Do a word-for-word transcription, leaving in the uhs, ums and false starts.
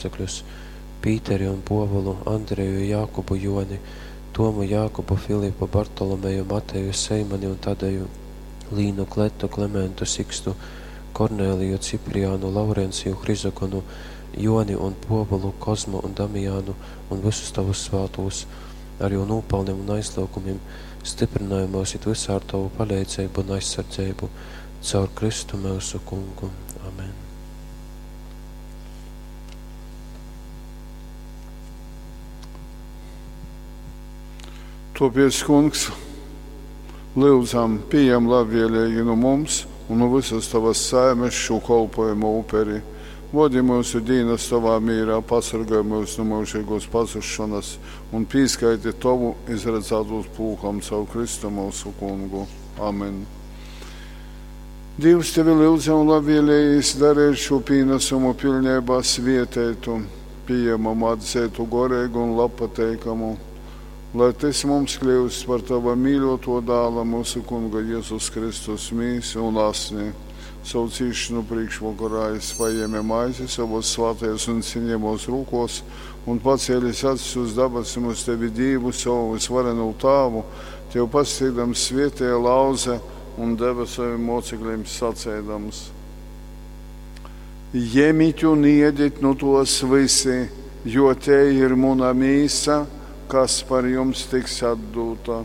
Mōcekļus, Pīteri un Pōvulu, Andreju, Jākubu, Jōni, Tomu, Jākubu, Filipu, Bartolomeju, Mateju, Seimani un Tadeju, Līnu, Kletu, Klementu, Sikstu, Korneliju, Ciprianu, Laurenciju, Hrizogonu, Jōni un Pōvulu, Kozmu un Damijanu un vysus tovus svātūs, ar jū nūpalnim un aizlyugumim styprynoj myus it vysā ar tovu paleidzeibu un aizsardzeibu. Caur Kristu myusu Kungu. Amen. Tōpēc, Kungs, lyudzam, pījem labvēlīgi nu mums un nu visas tovas saimes šū kolpojumu uperi. Vodi myusu dīnas tovā mīrā, pasorgoj myus nu myužīgōs pazusšonas un pīskaiti tovu izradzātūs pulkam caur Kristu myusu Kungu. Amen. Dīvs tevi lyudzam labvēlējīs darīt šo pīnesumu pilnībā svieteitu, pieņemamu, atzeitu, goreigu un labpateikamu, lai tys mums kļūst par tava mīļoto dāla mūsu Kunga Jēzus Kristus mīsu un asni. Savu cīšanu priekšvakarā jis paņēma maizi savos svātajos un cienījamos rūkos un pacēlis acis uz dabasim uz tevi Dievu, savu visvarenū Tāvu, tev pasteigdams svietēja lauze un deva saviem mocekļiem sacēdams. Jemit un iedit nu tos visi, jo te ir muna mīsa, kas par jums tiks atdota.